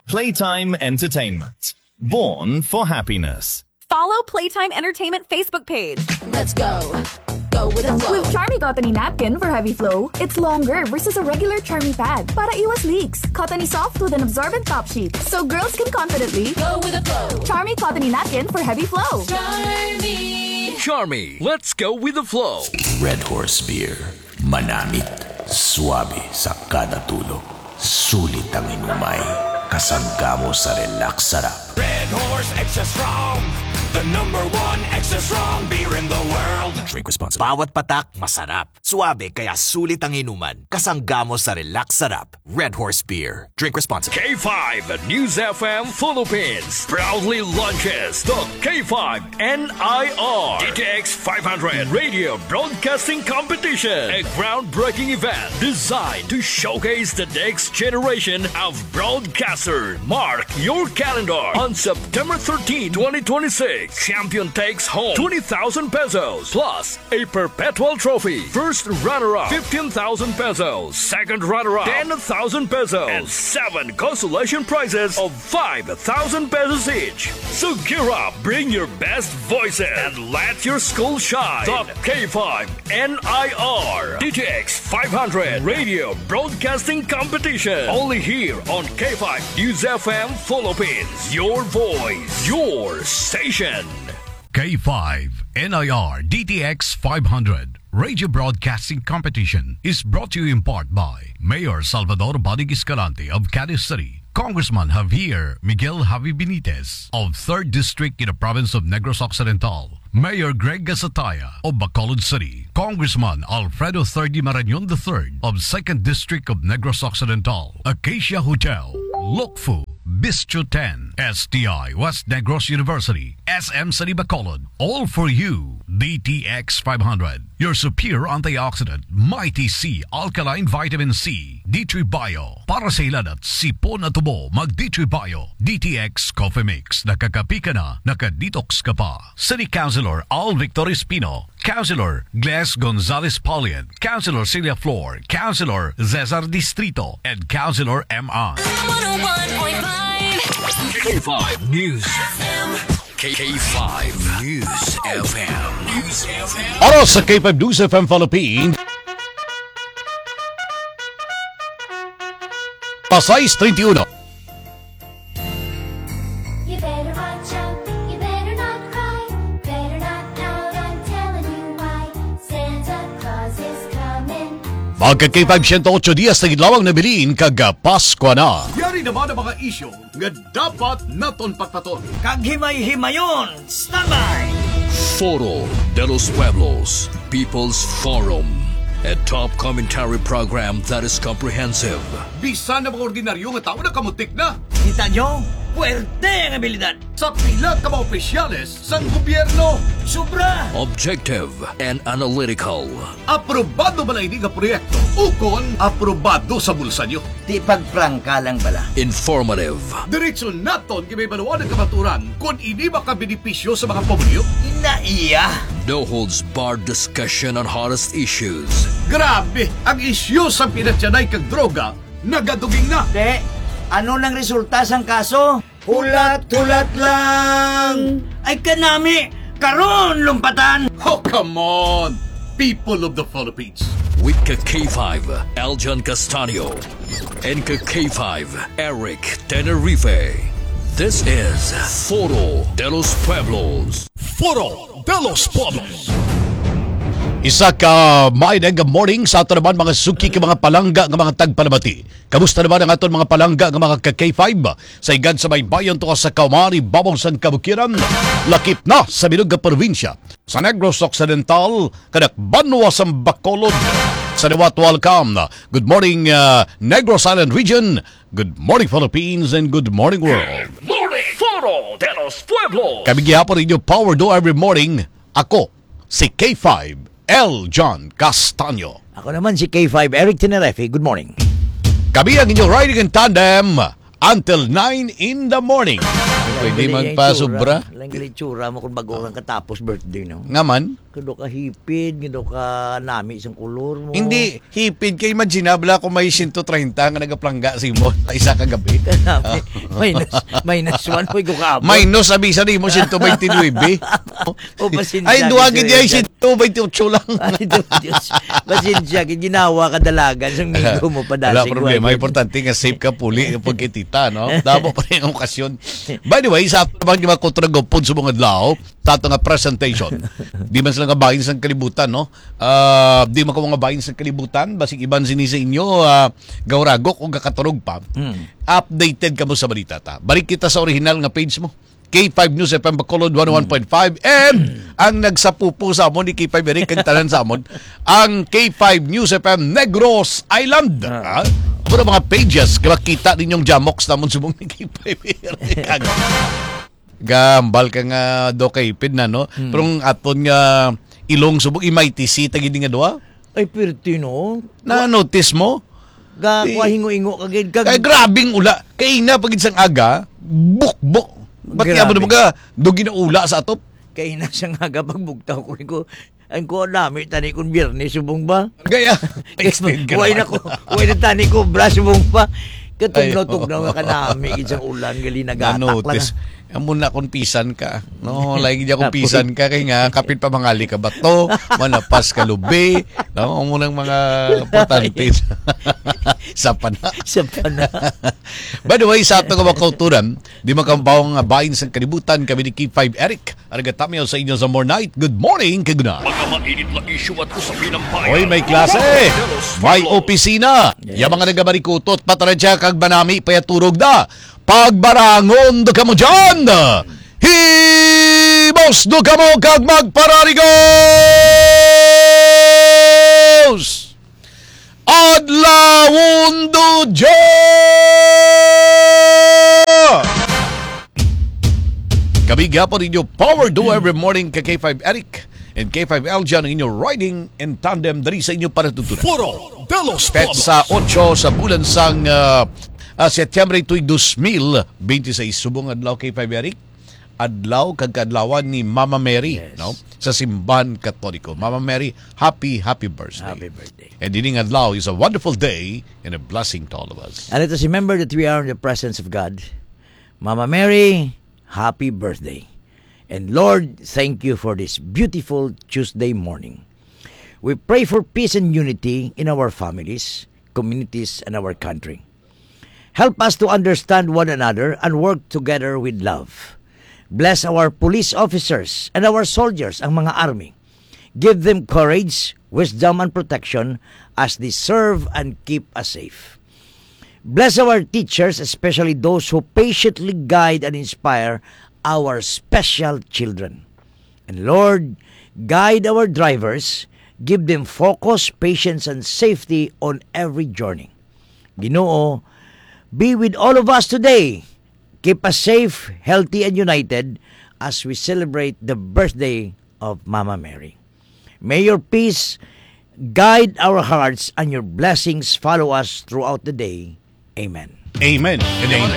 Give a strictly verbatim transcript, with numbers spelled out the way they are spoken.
Playtime Entertainment. Born for happiness. Follow Playtime Entertainment Facebook page. Let's go. Go with the flow. With Charmy Cottony Napkin for heavy flow, it's longer versus a regular Charmy pad para iwas leaks. Cottony soft with an absorbent top sheet, so girls can confidently go with the flow. Charmy Cottony Napkin for heavy flow. Charmy. Charmy, let's go with the flow. Red Horse Beer. Manamit, suabe sa kada tulo. Sulit ang inumay, kasangga mo sa relax sarap. Red Horse Extra Strong, the number one extra strong beer in the world. Drink responsibly. Bawat patak, masarap. Suabe, kaya sulit ang inuman. Kasangga mo sa relax sarap. Red Horse Beer. Drink responsibly. K five News F M Philippines proudly launches the K five N I R D T X five hundred Radio Broadcasting Competition, a groundbreaking event designed to showcase the next generation of broadcasters. Mark your calendar on September thirteenth, twenty twenty-six. Champion takes home twenty thousand pesos plus a perpetual trophy. First runner-up, fifteen thousand pesos. Second runner-up, ten thousand pesos. And seven consolation prizes of five thousand pesos each. So gear up, bring your best voices, and let your school shine. The K five N I R D T X five hundred Radio Broadcasting Competition. Only here on K five News F M Philippines. Your voice, your station. K five N I R D T X five hundred Radio Broadcasting Competition is brought to you in part by Mayor Salvador Bodig Escalante of Cadiz City, Congressman Javier Miguel Javi Benitez of third District in the province of Negros Occidental, Mayor Greg Gasataya of Bacolod City, Congressman Alfredo Thirdy Marañon the third of second District of Negros Occidental, Acacia Hotel, Lukfu, Bistro ten, S T I West Negros University, S M City Bacolod, all for you, D T X five hundred, your superior antioxidant, Mighty C alkaline vitamin C, D three Bio, para sa hilanat, sipon at ubo, mag D three Bio, D T X Coffee Mix, nakakapi ka na, naka-detox ka pa. City Councilor Al Victor Espino, Councilor Gles Gonzalez Paulian, Councilor Celia Flor, Councilor Cesar Distrito, and Councilor M I. One oh one point five K five News F M. K five News F M. News F M. Oras sa K five News F M Philippines. Pasay treinta y uno. You better watch out, you better not cry. Better not pout, I'm telling you why. Santa Claus is coming. Mga ka K five, siyento otso dias na gid lamang nabilin kag, ah, Pasko na. Yari naman ang mga isyu nga dapat naton pagpaton. Kag himay-himayon, standby! Foro de los Pueblos, People's Forum, a top commentary program that is comprehensive. Bisan ang mga ordinaryo nga tawo nakamutik na. Kita nyo? Puwerte ang abilidad. Sa pila ka mga opisyales sang gobyerno. Sobra! Objective and analytical. Aprobado bala ini nga proyekto ukon aprobado sa bulsa nyo? Di pagprangka lang bala. Informative. Diretso naton ginaibaluan ang kamaturan kon ini makabenepisyo sa mga pumuluyo. Ina iya. No holds barred discussion on hottest issues. Grabe, ang isyu sa pinatyanay kag droga nagaduging na. Te, ano nang resulta sang kaso? Hulat-hulat lang. Ay, kanami, karon lumpatan. Oh, come on, people of the Philippines. With ka K five, Aljan Castaño, and ka K five, Eric Tenerife. This is Foro de los Pueblos. Foro de los Pueblos. Isa ka maayong morning sa ato naman, mga suki, ka mga palangga nga mga tagpalamati. Kamusta naman ang aton mga palangga nga mga ka K five? Sa higad sa baybayon, tuwa sa kaumari, babaw sang kabukiran, lakip na sa bilog nga probinsya, sa Negros Occidental, kanak banwa sang Bacolod, sa liwat, welcome. Good morning, uh, Negros Island Region. Good morning, Philippines, and good morning, world. Good morning, Foro de los Pueblos. Kami gihapon inyo power do every morning. Ako, si K five, L John Castaño. Ako naman si K five, Eric Tenerife. Good morning. Kami ang inyong riding in tandem until nine in the morning. Pwede magpasobra. Lang itsura mo kung bago kang katapos birthday, no? Nga man. Kado ka hipid, kado ka nami sang kolor mo. Hindi, hipid kay imaginable ako may siyento treinta nga nagaplangga sa imo sa isa ka gabi. Kanami, minus, minus one, may ko kaabot. Minus, abi sa nimo, siyento baynte nuebe. O, pasensya, Ay, duha gid, gid ay, sir. Siyento baynte otso lang. Ay, Diyos, Diyos. Pasensya, gid ginawa ka dalagan sang migo mo, Wala padasig problema. Importante nga safe ka puli yung pagkitita, no? Damo pa rin yung okasyon. By the way, sa pag di makutragopod sa mga adlaw, sa ato nga presentation. Di man sila nga bahin sang kalibutan, no? Ah, di man ko nga bahin sang kalibutan, basig iban sini sa inyo, ah, gauragok o gakaturog pa. Mm. Updated kamo sa balita ta. Balik kita sa original nga page mo. K five News F M Bacolod one oh one point five, and ang nagsapupo sa amon ni K five Eric, kag tanan sa amon, ang K five News F M Negros Island. Ah. Ah, puro mga pages, makita ninyong jamoks namon subong ni K five Eric. Gambal ka nga do kay hipid na, no? Hmm. Pero ang aton nga ilong subong, M I T C, tagid nga duha? Ay, pirti, no? Na-notice mo? Ga, Di- kuha hingo-hingo ka gid kag Kay grabing ula. Kay na pagid sang aga, bukbok. Ba't Grabe. Nga mo naman ka, do ginaula sa atop? Kay na sang aga pagbugtaw ko, ko, ang kuha nami, tani kung biyernes, subong ba? Gaya, extend ka Kuha naman. Na ko, kuha na tani ko, bra, subong ba? Katugnaw-tugnaw Ay, nga kanami, gid sang ulan, gali nagatak lang. Na-notice. Amo na kung pisan ka. No, lagi di akong Apoy. Pisan ka, kay nga, kapit pa mangali ka bato, manapas ka lubi. No, amo nang mga importante. Sa pana. Sa pana. By the way, sa ato nga mga kauturan, di makabaw nga bahin sang kalibutan, kami ni K five Eric. Arigatami sa inyo sa More Night. Good morning, kag good night. Mga mainit na isyu at usapin ng bayan. Oy, may klase. May opisina. Yes. Yung mga nagabarikutot, patarantya kag manami, payaturog na. Pagbarangon do kamo dyan. Hibos do kamo kag magpararigos. Adlawon do dya! Kami gyapon inyo power do every morning kay K five Eric and K five L J ang inyo riding in tandem diri sa inyo para tutunan. Foro de los Pueblos. Petsa otso sa bulan sang, ah, ah, Setyembre tuig dos mil binte seis. Subong adlaw kay five Eric. Adlaw kag kaadlawan ni Mama Mary, Yes. no? Sa simbahan Katoliko. Mama Mary, happy, happy birthday. Happy birthday. And ining adlaw is a wonderful day and a blessing to all of us. And let us remember that we are in the presence of God. Mama Mary, happy birthday. And Lord, thank you for this beautiful Tuesday morning. We pray for peace and unity in our families, communities, and our country. Help us to understand one another and work together with love. Bless our police officers and our soldiers, ang mga army. Give them courage, wisdom, and protection as they serve and keep us safe. Bless our teachers, especially those who patiently guide and inspire our special children. And Lord, guide our drivers, give them focus, patience, and safety on every journey. Ginoo, be with all of us today. Keep us safe, healthy, and united as we celebrate the birthday of Mama Mary. May your peace guide our hearts and your blessings follow us throughout the day. Amen. Amen and amen.